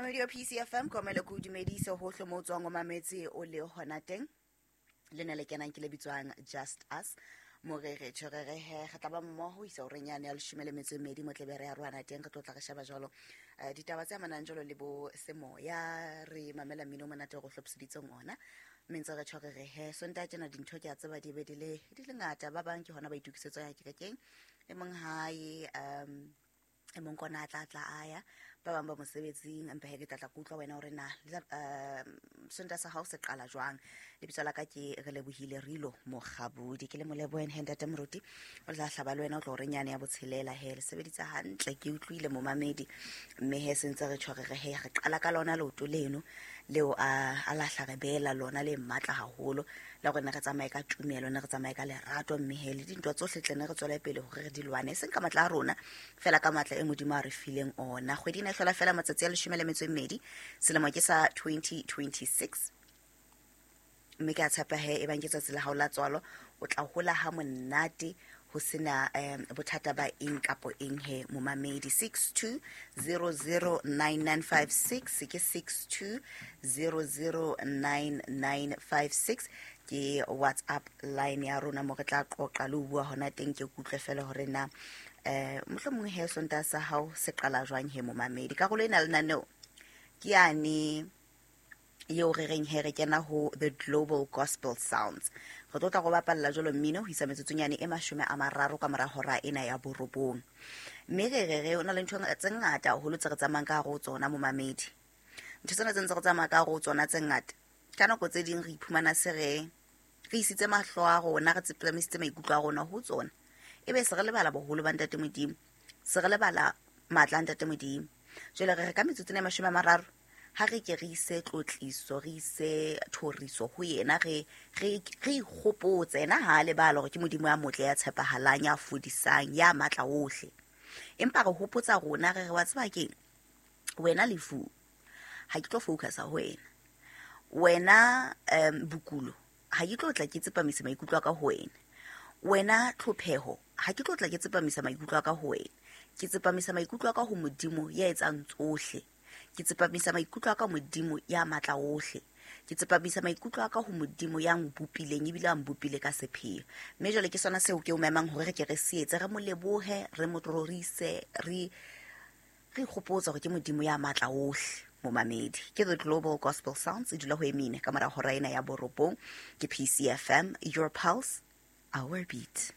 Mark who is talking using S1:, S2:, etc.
S1: Mamedi wa PCFM, komele ko dumedise hohle mo o tswang, o mametse o le hona teng. Le ne le kenang ke le bitswang Just Us, mo re re tjho re re he re tla ba mmoho ho isa horeng yane ya 12 mo tlebe re ya roana teng. Re tlo tla re sheba jwalo ditaba tse amanang jwalo le bo semoya, re mamela mmino o monate o re hlophiseditseng ona, mme ntse re tjho re re he Sontaha tjena dintho ke a tseba di be di le ngata. Ba bang ke hona ba itokisetswa ya kerekeng, e mong hae, e mong kona a tla tla a ya, ba bang ba mosebetsing. Empa he ke tla tla ke utlwa wena hore na Sontaha sa hao se qala jwang. Lebitso la ka ke re lebohile Rilo Mokgabudi, ke le moleboheng he ntate moruti o tla hlaba le wena o tlo horeng yane ya botshelela. He le sebeditse hantle, ke utlwile momamedi, mme he sentse re tjho re re he re qala ka lona leoto leno leo a lahla re beela lona le matla haholo la gore ne re tsamaye ka tumelo, ne re tsamaye ka lerato, mme he le dintwa tsohle tle ne re tswele pele hore re di lwane, e seng ka matla a rona fela, ka matla e Modimo a re fileng ona. Kgwedi ena e hlola fela matsatsi a 12, selemo ke sa 2026, mme ke a tshepa he e bang ke tsatsi la hao la tswalo o tla hola ha monate ho sena bothata ba eng kapo eng. He momamedi, 62009956 ke 62009956 ke WhatsApp line ya rona mo re tla qoqa le ho bua hona teng. Ke kutlwe fela hore na mohlomong he Sontaha sa hao se qala jwang. He momamedi, karolo ena lenaneo ke yane eo re reng he re kena ho The Global Gospel Sounds. Re tlo tla go bapalla jalo mmino ho isa metsotsonyane e 30 ka mora hora ena ya 9, mme re re re o na le ntho tse ngata haholo tse re tsamayang ka hare ho tsona. Momamedi, ntho tsena tse ntse re tsamaya ka hare ho tsona tse ngata, ka nako tse ding re iphumana se re re isitse mahlo a rona, re tsepamisitse maikutlo a rona ho tsona, ebe se re lebala boholo ba ntate Modimo, se re lebala matla a ntate Modimo. Jwale re re ka metsotso e 30 ha re ke re ise tlotliso, re ise thoriso ho yena, re re re ikgopotse yena ha a lebala hore ke Modimo ya motle, ya tshepahalang, ya fodisang, ya matla ohle. Empa re hopotsa rona, re re wa tseba keng wena lefu, ha ke tlo focusa ho wena, wena bokulo, ha ke tlo tla ke tsepamisa maikutlo a ka ho wena, wena tlhopheho, ha ke tlo tla ke tsepamisa maikutlo a ka ho wena. Ke tsepamisa maikutlo a ka ho Modimo ya etsang tsohle, ke tsepamisa maikutlo a ka Modimo ya matla ohle, ke tsepamisa maikutlo a ka ho Modimo ya nbopileng ebile a nbopile ka sepheo. Mme jwale ke sona seo ke o memang hore re ke re se etse, re mo lebohe, re mo rorise, re re ikgopotsa hore ke Modimo ya matla ohle. Momamedi, ke The Global Gospel Sounds, e dula ho emine ka mora hora ena ya 9. Ke PCFM, your pulse, our beat.